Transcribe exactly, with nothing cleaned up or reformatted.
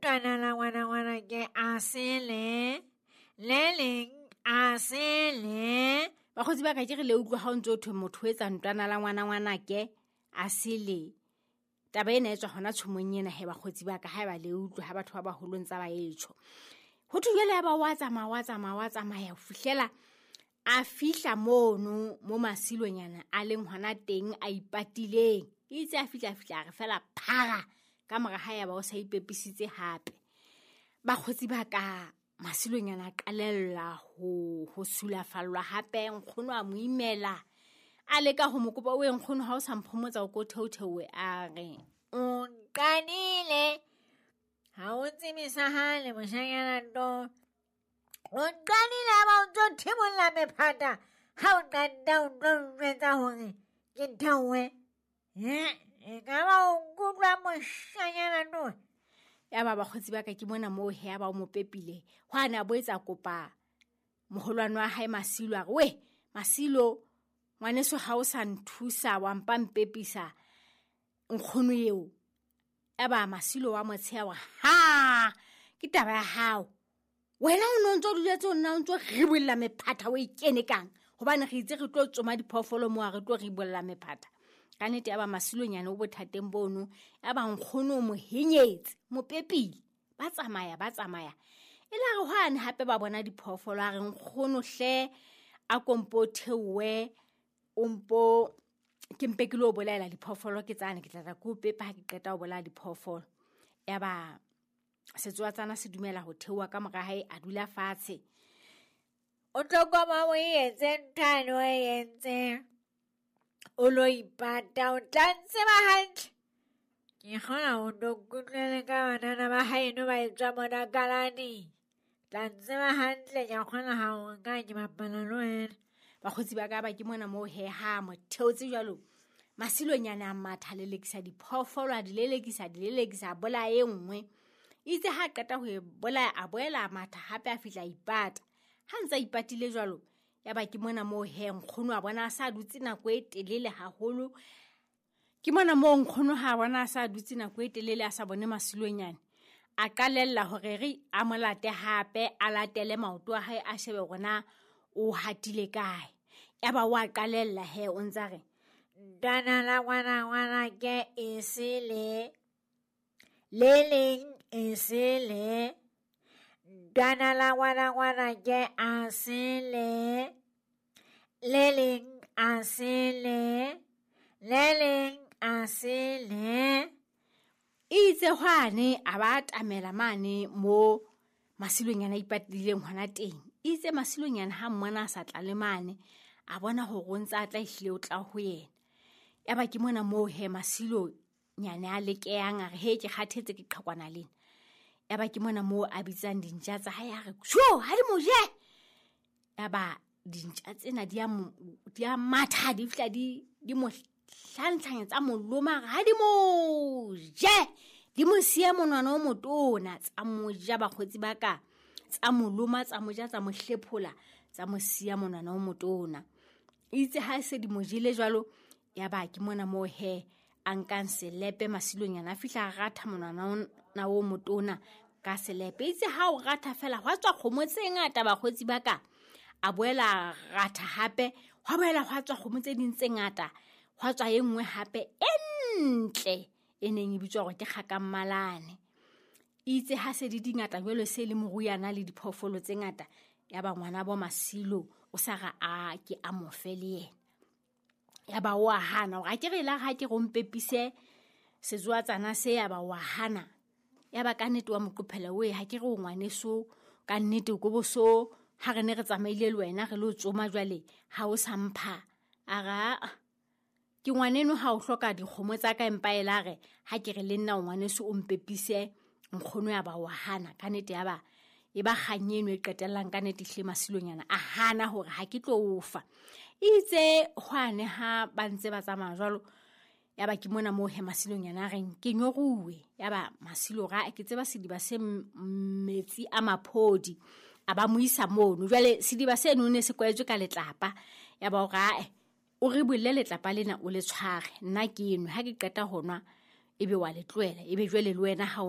Ntwana la ngwana ngwana ke a sele, le leng a sele. Bakgotsi ba ka ke re le utlwa ha o ntso thwe motho o etsa ntwana la ngwana ngwana ke a sele. Taba ena e tswa hona tshomong ena he bakgotsi ba ka ha ba le utlwa ha batho ba baholo ntsa ba etsho. Ho thwe jwale ya ba wa tsamaya wa tsamaya wa tsamaya ho fihlela a fihla mono mo Masilonyana a leng hona teng a ipatileng. Itse a fihla fihla re fela phara ka mora ha ya ba o sa ipepisitse hape. Bakgotsi ba ka Masilonyana a qalella ho ho sulafallwa hape nkgono a mo imela. A leka ho mo kopa o nkgono ha o sa mphomotsa o ko theotheoe a re o nqadile ha o tsebe sa hale moshanyana to. O nqadile ha ba o ntso thimolla mephata ha o qeta o tlo njwetsa hore ke theohe. E ka ba o nkutlwa moshanyana to. Ya ba bakgotsi ba ka ke mona moo he ba o mo pepile. Hwa na bo etsa kopa moholwane wa hae Masilo a re we Masilo ngwaneso ha o sa nthusa wa mpa mpepisa nkgono eo. Ya ba Masilo wa motsheya wa ha ke taba ya hao. Wena o no ntso duletse o nna o ntso ribolla mephata o e kene kang hobane re itse re tlo tsoma diphoofolo mo a re tlo ribolla mephata. Ka nnete ya ba Masilonyane o bothateng bono ya ba nkgono o mo henyetse mo pepile ba tsamaya ba tsamaya e la re hwane hape ba bona diphoofolo a re nkgono hle a kompo theowe o mpo ke mpe ke lo bolaela diphoofolo ke tsane ke tla tla ko pepa ha ke qeta ho bolaya diphoofolo. Ya ba setsoatsana se dumela ho theoha ka mora hae a dula fatshe. O tlo kopa o etse nthane o entse. O lo ipata o tla ntseba hantle. Ke kgona ho no nkutlwele ka banana ba haeno ba etswa mona kalane. Tla ntseba hantle ke kgona ha o nka ke bapala le wena. Bakgotsi ba ka ba ke mona moo he ha mo theotse jwalo. Masilonyana a matha lelekisa diphoofolo a di lelekisa di lelekisa a bolaya e nngwe. Itse ha qeta ho e bolaya a boela a matha hape a fihla a ipata. Ha ntsa ipatile jwalo ya ba ke mona moo he nkgono a bona a sa dutse nako e telele haholo. Ke mona moo nkgono ha bona a sa dutse nako e telele a sa bone Masilonyane. A qalella hore re a mo late hape a latele maoto a hae a shebe hore na o hatile kae. Ya ba wa qalella he o ntsa re ntwana la ngwana ngwana ke e sele le leng e sele. Ntwana la ngwana ngwana ke a sele le leng a sele le leng a sele. Itse hwane a ba atamela mane mo Masilonyana a ipatileng hona teng. Itse Masilonyana ha mmona a sa tla le mane a bona hore o ntsa tla ehlile o tla ho yena. Ya ba ke mona moo he Masilonyane a lekeyang a re he ke kgathetse ke qhakwana lena. Ya ba ke mona moo a bitsang dintja tsa hae a re sho ha di mo je. Ya ba dintja tsena di a di a matha di fihla di di mo hlantlhanya tsa mo loma ha di mo je. Di mo siya monwana o motona tsa mo ja bakgotsi ba ka tsa mo loma tsa mo ja tsa mo hlephola tsa mo siya monwana o motona. Itse ha se di mo jele jwalo ya ba ke mona moo he a nkang selepe Masilonyana a fihla a ratha monwana ona o motona ka selepe. Itse ha o ratha fela hwa tswa kgomo tse ngata bakgotsi ba ka. A boela ratha hape hwa boela hwa tswa kgomo tse ding tse ngata hwa tswa e nngwe hape e ntle e neng e bitswa hore ke kgakammalane. Itse ha se di dingata jwalo se le moruyana le diphoofolo tse ngata ya ba ngwana bo Masilo o sa ra a ke a mo fe le yena. Ya ba wa hana hore a ke re la ha ke re o mpepise setsoatsana se ya ba wa hana. Ya ba ka nnete wa moqophela we ha ke re o ngwaneso ka nnete ko boso ha re ne re tsamaile le wena re lo tsoma jwale ha o sa mpha. A ra ke ngwaneno ha o hloka dikgomo tsa ka empa e la re ha ke re le nna o ngwaneso o mpepise nkgono ya ba wa hana. Ka nnete ya ba e ba kgang eno e qetellang ka nnete hle Masilonyana a hana hore ha ke tlo o fa. Itse hwane ha ba ntse ba tsamaya jwalo ya ba ke mona moo he Masilonyana a reng ke nyoruwe. Ya ba Masilo ra ke tseba sediba se metsi a maphodi a ba mo isa mono. Jwale sediba seno ne se kwetswe ka letlapa. Ya ba o ra o re bolle letlapa lena o le tshware nna ke nwe ha ke qeta ho nwa ebe wa le tlohela ebe jwale le wena ha o